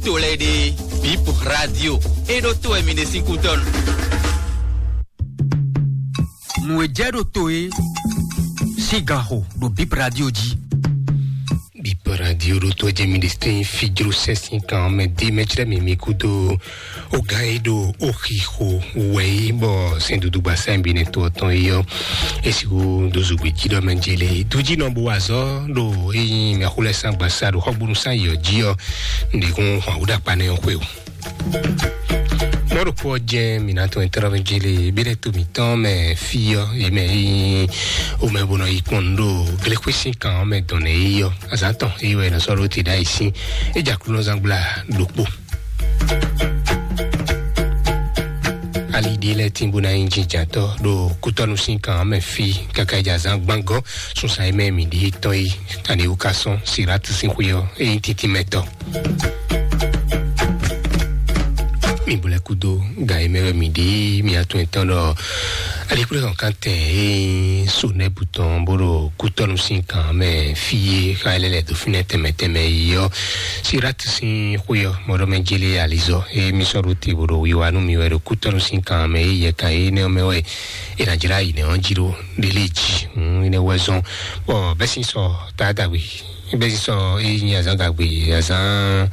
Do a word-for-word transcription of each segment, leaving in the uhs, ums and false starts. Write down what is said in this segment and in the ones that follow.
To lɛ́ɛ ɖe, Bip Radio, é ɖó to wɛ mi ɖe sín kútɔ́ nu. Nǔ e jɛ ɖo to e sín gan xo ɖo Bip Radio jí. Bip Radio ɖo to jɛ mi ɖe sín fijro sɛ́sìn kan mɛ dé mɛ chrɛ mi mi kúdo o gan e ɖo o xixo wɛ yi bɔ sɛn dudu gba sɛn bi ne to tɔn yi ɔ. Esi wo do zugbe jí ɖɔ mɛ jele dují nɔ bo wa zɔ ɖo eyi mɛ xulɛ san gba sa ɖo xɔgbonu san yi ɔ jí ɔ. Nde kun hɔn wo ɖakpa ne xwe o. Mɔɖokpɔ jɛ minatɔn etɔ́ɖɔmɛ jele bílẹ̀ tó mǐtɔn mɛ fí ɔ́, yě mɛ yí omɛ bó nɔ yi kpɔ́n nǔ ɖo glexwé sín kan ɔ́ mɛ dɔn nɛ yí ɔ́. Azǎn tɔn yí wɛ è nɔ sɔ́ ɖó te ɖ'ayǐ sín. É jɛ Aklúnɔzán gbla ɖokpó. Ali ɖé lɛ́ɛ tín bó ná nyí jínjǎntɔ́ ɖo kútɔ́nú sín kan ɔ́ mɛ fí káká é jɛ azǎn gbángɔ́. Sunsan e mɛ mǐ ɖíe tɔn yi, ani wú ka sɔ́n Silátu sín xwé ɔ́, é nyí títí mɛ tɔn. Mi bo lɛ́ kúdó gan e mɛ wɛ mǐ ɖe mǐ atún etɔn ɖɔ alikwlé hɔn kan tɛn e nyí Sonɛbu tɔn bó ɖo kútɔ́nú sín kan mɛ fí e xa lɛ́ lɛ́ dó fínɛ́ tɛnmɛ tɛnmɛ yi ɔ́. Silátu sín xwé ɔ́, mɔɖɔmɛ jélé alizɔ e mí sɔ́ ɖó te bó ɖo wiwa nú mi wɛ ɖo kútɔ́nú sín kan mɛ e yɛ kan énɛ́ ɔ́ mɛ wɛ è nǎ jlá yi nɛ̌ ɔ́ jí ɖó ɖélé jí. Hǔn énɛ́ wɛ zɔ́n bɔ bɛ́ sín sɔ taátagbe bɛ́ sín sɔ e nyí azǎn gagbe azǎn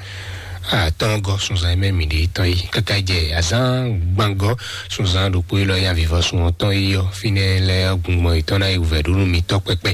atɔ́ɔ́ngɔ́ sunzan e mɛ mǐ ɖe tɔn yi káká jɛ azǎn gbangɔ́ sunzan ɖokpó élɔ́ ya vivɔsun ɔ́ tɔn yi ɔ́ fínɛ́ lɛ́ɛ gbɔngbɔn yětɔn ná yi wǔvɛ́ ɖó nú mi tɔ́ kpɛkpɛ.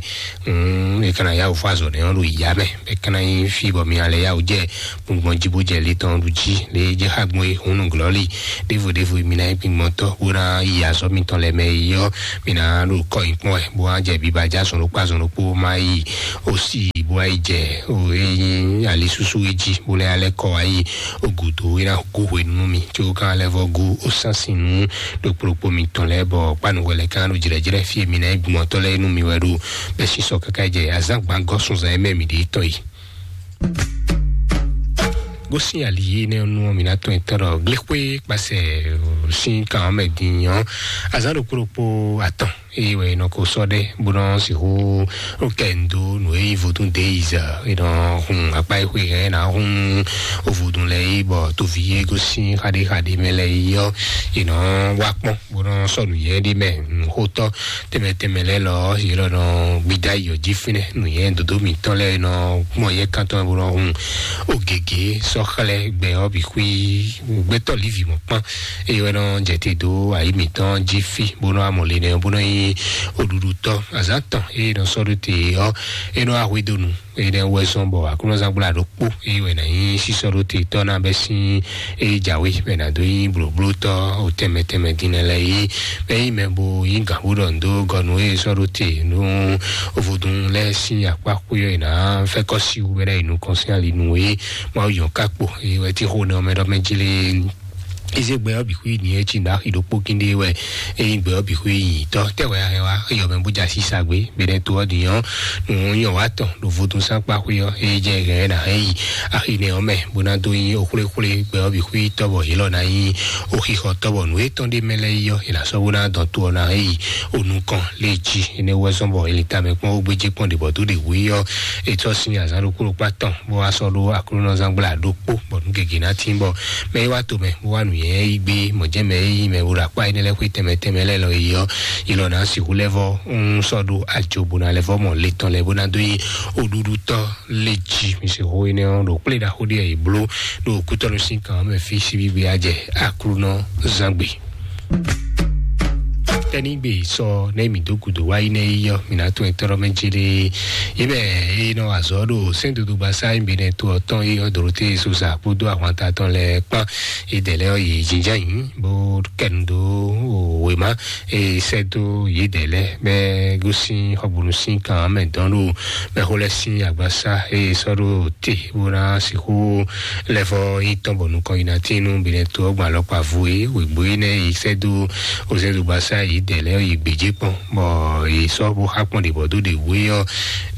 Hǔn è ka ná yá wǔ fɔ azɔ̌ nɛ́ ɔ́ ɖo yǎ mɛ bɔ é ka ná nyí fí bɔ mi ná lɛ́ yá wǔ jɛ gbɔngbɔn jí bó jɛ le tɔn ɖu jí le jɛ xá gbɔn e hǔn nǔglɔ́lí ɖěvo ɖěvo mi ná nyí gbingbɔntɔ́ bó ná yi azɔ̌ mitɔn lɛ́ɛ mɛ yi ɔ́. Mi ná ɖo kɔ nyi kpɔ́n wɛ bó ná jɛ biba já zɔn ɖokpó azɔn ɖokpó má yi ó sì bó wá yi jɛ ó é nyí alisúsú é jí bó lɛ́ alẹ́ kɔ wá yi ó gǔdo é ná gú hwenu nú mi có gán lɛ́ vɔ gú ó sán sin nú ɖokpó ɖokpó mitɔn lɛ́ɛ bɔ kpánu hwɛ lɛ́ɛ kán ɖo jlɛ̌jlɛ́ fí e mi ná nyí gbingbɔntɔ́ lɛ́ɛ nú mi wɛ ɖo bɛ́ sísɔ káká jɛ azǎn gbangɔ́ sunzan e mɛ mi ɖe tɔn yi. Gosín ali énɛ́ nú ɔ́, mǐ ná tɔn etɔ́ ɖɔ gléxwé kpasɛ sín kan ɔ́ mɛ din ɔ́, azǎn ɖokpó ɖokpó atɔn eye wɛ è nɔ ko sɔ́ ɖɛ bó nɔ sixú kɛ ndo nǔ e nyí vodún deyiz è nɔ hun akpá e xwe hɛn ná hun vodún lɛ yi bɔ toví e gosín xaɖé xaɖé mɛ lɛ yi ɔ́, è nɔ wá kpɔ́n bó nɔ sɔ́ nǔ yɛ ɖé mɛ nǔxótɔ́ tɛnmɛ tɛnmɛ lɛ́ɛ lɔ yě lɔ nɔ gbidá yi ɔ́ jí fínɛ́ nǔnyɛ dodó mǐtɔn lɛ́ɛ nɔ gbɔn yɛ kántɔn bó nɔ hun ó gěgé sɔ́ xlɛ́ gbɛ ɔ́ bǐ xwí gbɛtɔ́ lívi mɔ̌ kpán eye wɛ nɔ jɛ te dó ayǐ mǐtɔn jí fí bó nɔ amɔ le nɛ bó nɔ nyí oɖuɖutɔ́ azǎn tɔn eye nɔ sɔ́ ɖó te ɔ́ é nɔ wá hwedó nu. Énɛ́ wɛ zɔ́n bɔ aklúnɔzán gbla ɖokpó eye wɛ ná nyí sísɔ ɖó te tɔ́ ná bɛ́ sín eye jǎwe bɛ ná dó nyí blǒblótɔ́ o tɛnmɛ tɛnmɛ din lɛ́ɛ yi bɛ nyí mɛ bo nyí gǎn bó ɖɔ ndo gɔnu eye sɔ́ ɖó te nú vodún lɛ́ɛ sín akpá xwé ɔ́ è nǎ fɛ́ kɔ́ si wú bɛ ná yi nukɔn sín ali nú e Mawu yɔn ká kpo eye wɛ tí xo nɛ ɔmɛ ɖɔ mɛ jí lé. Eze gbɛ ɔ́ bǐ xwí nǐ e cí ɖo axi ɖokpó kíndé wɛ eye gbɛ ɔ́ bǐ xwí nyǐtɔ́ tɛ́ wɛ a hɛn wá eyɔ mɛ bó jɛ así sa gbé bɛnɛ to ɔ́ din ɔ́ nǔ nyɔ wá tɔn ɖo vodúnsánkpá xwé ɔ́ eye jɛ hɛn ɛ nǎ hɛn yi axi nɛ ɔ́ mɛ bó ná dó nyí oxwléxwlé gbɛ ɔ́ bǐ xwí tɔ́ bɔ yě lɔ ná nyí oxixɔ tɔ́ bɔ nǔ e tɔn ɖé mɛ lɛ́ɛ yi ɔ́ è nǎ sɔ́ bó ná dɔn to ɔ́ ná hɛn yi onú kɔn lé jí. Énɛ́ wɛ zɔ́n bɔ è lin tamɛ kpɔ́n ó gbéjé kpɔ́n ɖě bɔ dó ɖě wú yi ɔ́ è tɔ́ sín azǎn ɖokpó ɖokpó atɔn bó wá sɔ́ ɖó aklúnɔzán gbla ɖokpó bɔ nǔ gěgé ná tín bɔ mɛ e wá to mɛ bó wá nǔnywɛ́ yí gbé mɔ̌jɛ́mɛ e yí mɛ bó ɖo akpá énɛ́ lɛ́ɛ xwé tɛnmɛ tɛnmɛ lɛ́ɛ lɔ yi ɔ́ yi lɔ ná sixú lɛ́ vɔ ń sɔ́ ɖó ajo bó ná lɛ́ vɔ mɔ le tɔn lɛ́ɛ bó ná dó yi oɖuɖutɔ́ lé jí mi sixú énɛ́ ɔ́ ɖo kplé ɖaxó ɖé e bló ɖo kútɔ́nú sín kan mɛ fí síbígbe á jɛ aklúnɔzán gbe. Tɛnigbe sɔ ne mi do gudo wa yi ne yi yɔ mi na to etɔrɔ mɛ jele yi bɛ yi nɔ azɔ do sɛn dodo ba sa yi bi ne to ɔtɔn yi yɔ dorote sosa kpodo ahwanta tɔn lɛ kpan yi dɛlɛ yi jinjan yi bo kɛnu do wema e sɛ do yi dɛlɛ bɛ gosi xɔgbonu si kan mɛ dɔn do mɛ xo lɛ si agbasa e sɔ do te bo na sixu lɛ fɔ yi tɔn bɔ nukɔn yi na tinu bi ne to ɔgba lɔkpa vo e wegbo yi ne yi sɛ do o sɛ do gbasa yi dɛ lɛ́ɛ yi gbějé kpɔ́n, bɔ yě sɔ́ bó xá kpɔ́n ɖě bɔ dó ɖě wú é ɔ́,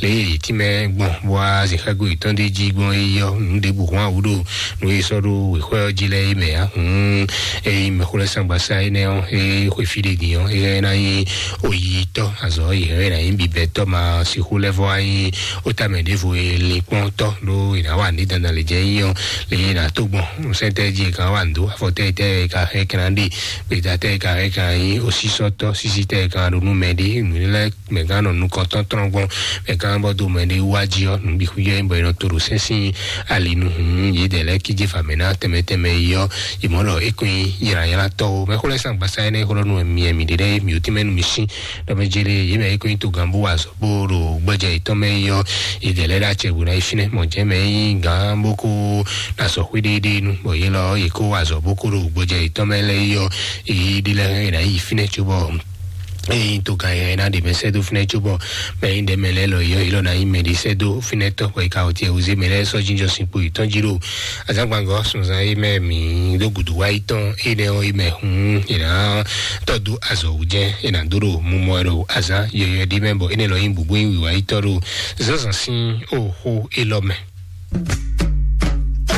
lě e yě tínmɛ gbɔn bó wá zǐnxágo yětɔn ɖé jí gbɔn é ɔ́, nǔ ɖěbǔ hɔn awǔ ɖo nǔ e sɔ́ ɖó wěxɔ ɔ́ jí lɛ́ɛ é mɛ ǎ. Hǔn ényí mɛxó lɛ́ɛ sángbasá énɛ́ ɔ́, é xwe fí ɖé din ɔ́, é ná nyí oyitɔ́ azɔ̌ yě hɛn ná nyí bibɛtɔ́ ma sixú lɛ́ vɔ wá nyí ó tamɛ ɖěvo e linkpɔ́ntɔ́ ɖó è nǎ wa ní dandan lě jɛ nyí ɔ́, lě e è nǎ tó gbɔn sɛ́ntɛ́ jí è ka wá nǔ dó afɔtɛ́ tɛ́ è ka hɛn kɛ́ ná ɖe gbeta tɛ́ è ka hɛn kɛ́ ná nyí osísɔ́tɔ́ sísí tɛ́ è ka ɖo nú mɛ ɖé nǔ lɛ́ mɛ gán nɔ nukɔntɔn tɔn gbɔn mɛ gán bɔ do mɛ ɖé wá jí ɔ́ nǔ bǐ xú yɔ bɔ è nɔ to ɖo sɛ́n sín ali nu hǔn yědɛɛ lɛ́ɛ kíjé fǎ mɛ ná tɛmɛ tɛmɛ yi ɔ́, yě mɔ ɖɔ é kún nyí ylǎylátɔ́ ó. Mɛ xó lɛ́ɛ sán gbasá énɛ́ xó ɖɔ nú mì mi ɖé mi ò tín mɛ nú mi sín ɖɔ mɛ jélé yě mɛ é kún nyí togán bó wa azɔ̌ bó ɖo gbɔjɛ yětɔn mɛ yi ɔ́, yědɛɛ lɛ́ɛ ɖo acɛ bó ná yi fínɛ́ mɔ jɛ́n mɛ é nyí gǎn bó kó ná sɔ xwé ɖéɖéé nu bɔ yě lɔ yě kó wa azɔ̌ bó kó ɖo gbɔjɛ yětɔn mɛ lɛ́ɛ yi ɔ́, yě ɖi lɛ́ɛ é ná yi fínɛ́ cóbɔ eye to gan yɛ na ɖe mɛ sɛdo finɛ tso bɔ mɛ yi ɖe mɛ lɛ lɔ yɔ yɔ na yi mɛ ɖi sɛdo finɛ tɔ kɔ yi ka o tiɛ wuze mɛ lɛ sɔ jinjɔ sin kpo yi tɔn jiro azagban gɔ sunzan yi mɛ mi do gudu wa yi tɔn yi nɛ yi mɛ hun yi na tɔ do azɔ wu jɛ yi na do do mumɔ do azan yɔyɔ ɖi mɛ bɔ yi nɛ lɔ yi bubu yi wi wa yi tɔ do zanzan sin o xo yi lɔ mɛ.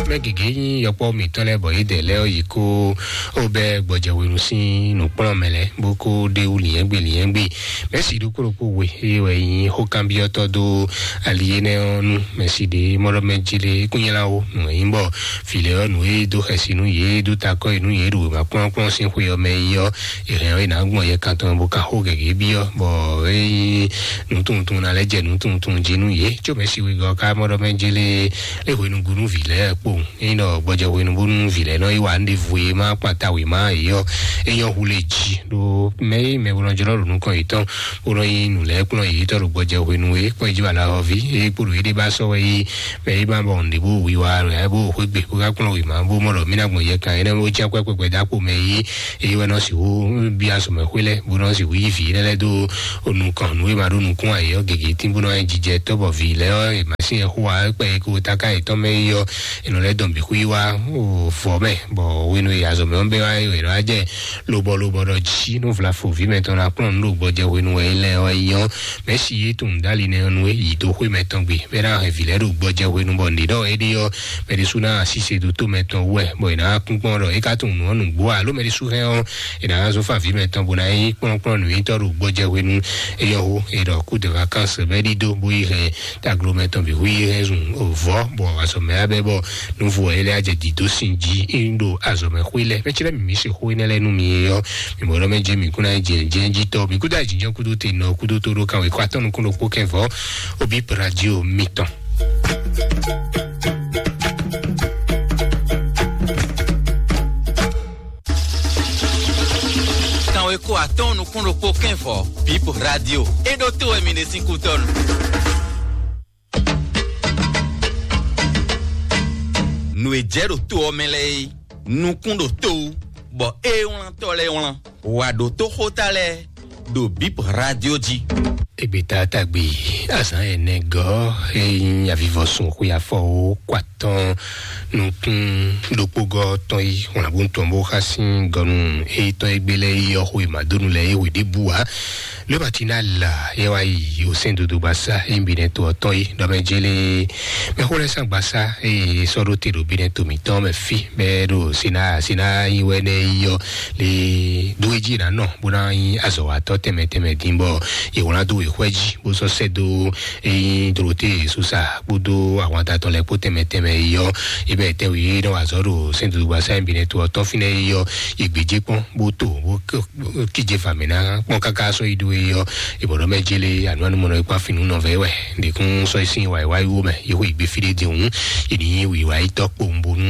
Mɛ gěgé nyí yɔkpɔ́ mǐtɔn lɛ́ɛ bɔ yědɛɛ lɛ́ɛ ɔ́ yi kó ó bɛ́ gbɔjɛhwenu sín nǔkplɔ́nmɛ lɛ́ɛ bó kó ɖe wú lǐnyɛ́gbe lǐnyɛ́gbe. Mɛ̌si ɖokpó ɖokpó we eye wɛ nyí xókanbyɔ́tɔ́ dó ali énɛ́ ɔ́ nú mɛ̌si ɖě mɔɖɔmɛ jí lé kúnyɛ́láwo nǔ e nyí bɔ vǐ lɛ́ɛ ɔ́ nǔ e dó xɛsi nú yě dó takɔ́ yi nú yě ɖo wěma kplɔ́nkplɔ́n sín xwe ɔ́ mɛ yi ɔ́, è hɛn ɔ́ è nǎ gbɔn yɛ kan tɔn bó ka xó gěgé byɔ́ bɔ é nyí nǔtunwuntunwun ná lɛ́ jɛ nǔtunwuntunwun jí nú yě có mɛ̌si wegɔ́ ká mɔɖɔmɛ jí lé é hwenu gúnú vǐ lɛ́ɛ kpowun. Ényí ɖɔ gbɔjɛ hwenu bónú vǐ lɛ́ɛ nɔ yi wa nɖe vo e ma kpata wěma yě ɔ́, é nyɔ́ hu lé jí ɖó mɛ e mɛ bó nɔ jlɔ́ ɖo nukɔn yětɔn bó nɔ nyi nǔ lɛ́ɛ kplɔ́n yě tɔ́ ɖo gbɔjɛ hwenu e kpɔ́n jí bala ɔ́ ví é kpo ɖo yé ɖé ba sɔ́ wɛ yí mɛ e ma bɔ nǔɖé bó wi wa ɖo yɛ bó xwé gbe bó ka kplɔ́n wěma bó mɔ ɖɔ mí ná gbɔn yɛ kan énɛ́ bó cí akwɛ́ kpɛkpɛ dó akpo mɛ yí é wɛ nɔ sixú bí azɔ̌mɛ xwé lɛ́ɛ bó nɔ sixú yí vǐ énɛ́ lɛ́ɛ dó nukɔn nǔ e ma ɖó nukún ayǐ ɔ́ gěgé tín bó nɔ wá nyí jijɛ tɔ́ bɔ vǐ lɛ́ɛ ɔ́ è ma sín yɛ xó wa kpɛ é kó taká yětɔn mɛ yi ɔ́ è nɔ lɛ́ dɔn bǐ xwí wá vɔ̌ mɛ bɔ hwenu e azɔ̌ mɛ ɔ́ bɛ́ wá é è nɔ wá jɛ lobɔ lobɔ ɖɔ jí nú vla fo vǐ mɛtɔn ná kplɔ́n nǔ ɖo gbɔjɛ hwenu wɛ é lɛ́ɛ ɔ́ é nyɔ́ mɛ̌si yé tunwun dó ali nɛ́ ɔ́ nú é yi dó xwé mɛtɔn gbe bɔ é ná hɛn vǐ lɛ́ɛ ɖo gbɔjɛ hwenu bɔ nǔɖé ɖɔ éɖée ɔ́ mɛ ɖésú ná así se ɖo tó mɛtɔn wú wɛ bɔ è nǎ kún kpɔ́n ɖɔ é ka tunwun nǔ ɔ́ nǔgbó ǎ ló mɛ ɖésú hɛn ɔ́ è nǎ zɔ́n fá vǐ mɛtɔn bó ná nyí kplɔ́nkplɔ́n nǔnyítɔ́ ɖo gbɔjɛ hwenu é yɔ hó è ɖɔ kú de vacances bɔ é ɖidó bó yi hɛn taglo mɛtɔn bǐ hu yi hɛn zun vɔ̌ bɔ azɔ̌ mɛ abɛ bɔ nǔvo ɛ lɛ́ ajɛ dǐdó sin jí é ń ɖo azɔ̌ mɛ xwé lɛ́ mɛ cɛ́ mǐ se xó énɛ́ lɛ́ɛ nú mi é ɔ́ mi mɔ ɖɔ mɛ jɛ mǐ kún ná jɛ jɛ jí tɔ mǐ kúdó ajínjɔ́n kúdó te nɔ kúdó tó ɖó kan wěkɔ atɔ́ nukún ɖokpó kɛvɔ́ obi radio mitɔn. Kanweko atɔ́ɔ́n nukún ɖokpó kɛ́nvɔ bip radio é ɖó tó wɛ mi ɖe sín kútɔ́nu. Nǔ e jɛ ɖo tó ɔ́ mɛ lɛ́ɛ é nukún ɖo tó wú bɔ é wlántɔ́ lɛ́ɛ wlán wǎ ɖó tó xóta lɛ́ɛ ɖo bip radio jí. Egbeta tagbe azán ɛnɛ gɔ́ é nyí avivɔsun xwe afɔ ó kó atɔn nukún ɖokpógɔ́ tɔn yi wlǎnbú tɔn bó xá sín gɔnu éyítɔn égbé lɛ́ɛ yi ɔ́ xwe màdónu lɛ́ɛ é hwe ɖěbǔ ǎ. Lóbati ná la yɛ wá yi osɛ́n dodogba sá é nyi binɛ to ɔ́ tɔn yi ɖɔmɛ jélé mɛxó lɛ́ɛ sán gbasá eye sɔ́ ɖó te ɖo binɛ to mǐtɔn mɛ fí bɛ́ ɖo sina sina yi wɛ nɛ yi ɔ́ lé dó é jí ná nɔ bó ná nyí azɔ̌watɔ́ tɛnmɛ tɛnmɛ dín bɔ yě wlán dó wěxwɛ́ jí bó sɔ́ sɛ́ dó ényí Dorote Sosa kpódó ahwanta tɔn lɛ́ɛ kpó tɛnmɛ tɛnmɛ yi ɔ́, é bɛ́ tɛ́nwe é nɔ wa azɔ̌ ɖo sɛ́ndodogba sá nyi binɛ to ɔ́ tɔn fínɛ́ yi ɔ́, yě gbéjé kpɔ́n bó to bó kíje fa mǐ ná kpɔ́n káká sɔ́ yi ɖó é ɔ́, é bɔ̌ ɖɔ mɛ jélé anú anú mɔnɔ é kpán fínú nɔ vɛ wɛ ɖěkún sɔ́ yi sín wǎ yi wá yi wó mɛ yě xo yi gbé fí ɖé din hǔn yě ní yí wǐwá yi tɔ́ kpowun bónú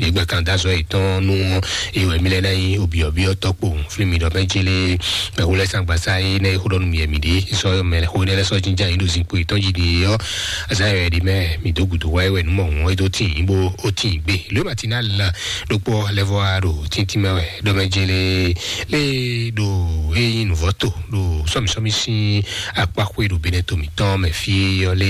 yě gbɛ kan dó azɔ̌ yětɔn nú ɔ́, é wɛ mí lɛ́ ná nyí obyɔ̌byɔ́ tɔ́ kpowun. Fí mi ɖɔ mɛ jélé mɛ xó lɛ́ɛ sán gbasá é nɛ́ é xó ɖɔ nú mi yɛ mi ɖě sɔ́ mɛ xó nɛ́ lɛ́ sɔ́ jínján yín ɖo zinkpo yětɔn jí ɖi é ɔ́, azán yɛ ɖi mɛ mi dó gǔdo wá é wɛ nú mɔ hǔn é dó tín yín bó ó tín gbé lóyè matinal ɖokpó lɛ́ vɔ wá ɖo tíntín mɛ wɛ ɖɔ mɛ jélé lé ɖo é nyí nǔvɔ́ to ɖo sɔ́misɔ́mi sín akpá xwé ɖo benɛto mǐtɔn mɛ fí ɔ́ lé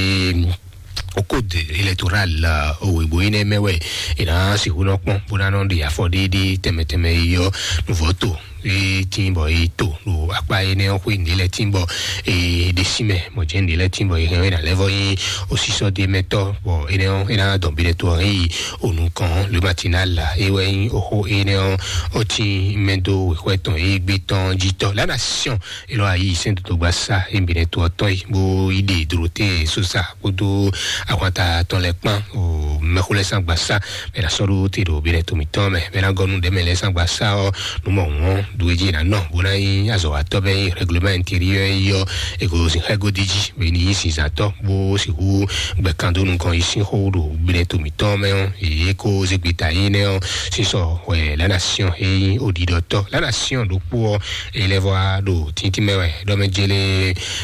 okode électoral owegbo yi nɛ mɛ wɛ è nǎ sixú nɔ kpɔ́n bó ná nɔ ɖe afɔ ɖéɖé tɛmɛ tɛmɛ yi ɔ́ nǔvɔ́ to e tín bɔ e to ɖo akpa énɛ́ ɔ́ xwé nǔɖé lɛ́ɛ tín bɔ e ɖe sí mɛ mɔ jɛ́n nǔɖé lɛ́ɛ tín bɔ e hɛn ɔ́ é ná lɛ́ vɔ nyí osísɔ́ ɖé mɛ tɔ́, bɔ énɛ́ ɔ́ é ná dɔn bi ɖɛ to ɔ́ hɛn yi onukɔn lě ma tín ná la é wɛ nyí oxó énɛ́ ɔ́ ɔ́ tín mɛ dó wěxwɛ tɔn e gbé tɔn jí tɔ́ lánà siɔn é lɔ ayi sɛ́n dodogba sá é bi ɖɛ to ɔ́ tɔn yi bó yi ɖe dro te sosa kpódó ahwanta tɔn lɛ́ɛ kpán o mɛxó lɛ́ɛ sán gba sá mɛ ná sɔ́ ɖó te ɖo bi ɖɛ to mǐtɔn mɛ mɛ ná gɔ́ nú ɖɛ̌ mɛ lɛ́ɛ sán gba sá ɔ́ nú mɔ wɔn ɖu e jí è nǎ nɔ bó ná nyí azɔ̌watɔ́ bɛ́ nyí règlement intérieur yi ɔ́ è ko sin xɛ́ godi jí bɔ è ní nyí zinzǎntɔ́ bó sixú gbɛ kan dó nukɔn yi sín xó ɖo gblɛ́ to mǐtɔn mɛ ɔ́, yě ko zé gbeta énɛ́ ɔ́ sísɔ hwɛ la nation é nyí oɖiɖɔtɔ́ la nation ɖokpó ɔ́, é lɛ́ vɔ wá ɖo tíntín mɛ wɛ ɖɔ mɛ jélé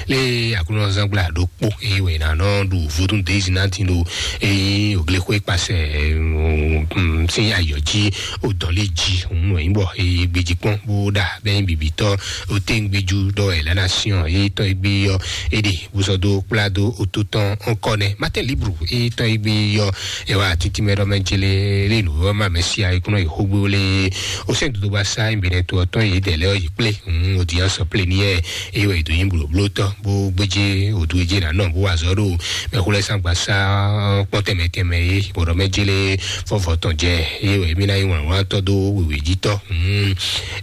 lé aklúnɔzángbla ɖokpó é wɛ è nǎ nɔ ɖu vodún dézinantin ɖo é nyí òglexwé kpasɛ sín ayɔ̌ jí o dɔn lé jí òun nɔ nyí bɔ e gbejí kpɔ́n bó ɖa bɛ́ nyí bibitɔ o tɛ́ngbéjú ɖɔ ɛ lana siɔn e tɔn e gbé yɔ e ɖe bó sɔ dó kplá dó o tó tɔn ɔkɔ nɛ matɛn libru e tɔn e gbé yɔ ɛ wá títí mɛ ɖɔ mɛ jele lé nǔ ɔ́ ma mɛ sia e kúnɔ yi xógbó lé o sɛn dodo ba sa nyí bɛnɛ to ɔtɔn yi dɛ lɛ ɔ yi kplé òun o diyan sɔ plé ni yɛ e wɛ do nyí blóbló tɔ bó gbéjé o dúwéjé nà nɔ bó wà zɔ ɖo mɛ xó lɛ sangba sa kpɔn tɛmɛ tɛmɛ ye bɔdɔ mɛ jele fɔfɔ tɔn jɛ ye wɛ mi na yi wlan wlan tɔ do wewe ji tɔ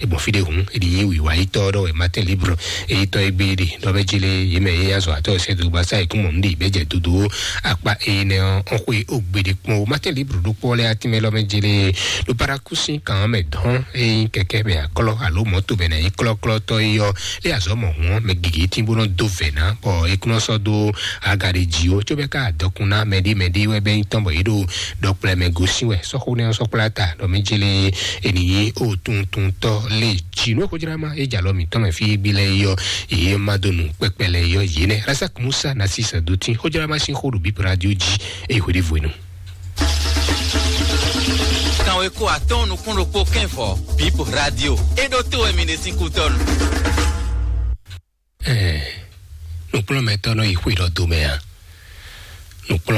egbɔn fi de hun edi yi wiwa yi tɔ dɔ wɛ matin libre eyi tɔ egbe de dɔ mɛ jele ye mɛ ye azɔ atɔ sɛ do gbasa ekun mɔ nu de bɛ jɛ dodo akpa ene ɔ ɔn xwe ogbe de kpɔn o matin libre do kpɔ lɛ ati mɛ lɔ mɛ jele do parakusi kan mɛ dɔn eyi kɛkɛ mɛ aklɔ alo mɔto mɛ na yi klɔklɔ tɔ yi yɔ lé azɔ mɔ hɔn mɛ gigi tí bó nɔ dó vɛ ná bɔ ekúnɔ sɔ dó aga ɖe dzi o tso bɛ ká dɔkun ná mɛɖi mɛɖi wɛ bɛ nyí tɔn bɔ yé ɖo dɔkplɛ mɛ gosin wɛ sɔxo nɛ sɔkpla ta dɔ mɛ jele eniyi o tuntun tɔ lé dzi nú xojrama e jalɔ mi tɔn mɛ fi gbi lɛ yɔ eye ma do nu kpɛkpɛ lɛ yɔ yé nɛ rasak musa na si sɛ do tí xojrama si xo ɖo bi radio dzi eye xo ɖe voenu. Kanwe ko atɔn nukún ɖokpó kɛn vɔ bip radio e ɖo to wɛ mi ɖe sín kú tɔnu. Ɛɛ, nukplɔ́nmɛtɔ́ nɔ yi xwé ɖɔ domɛ a? Nukplɔ́n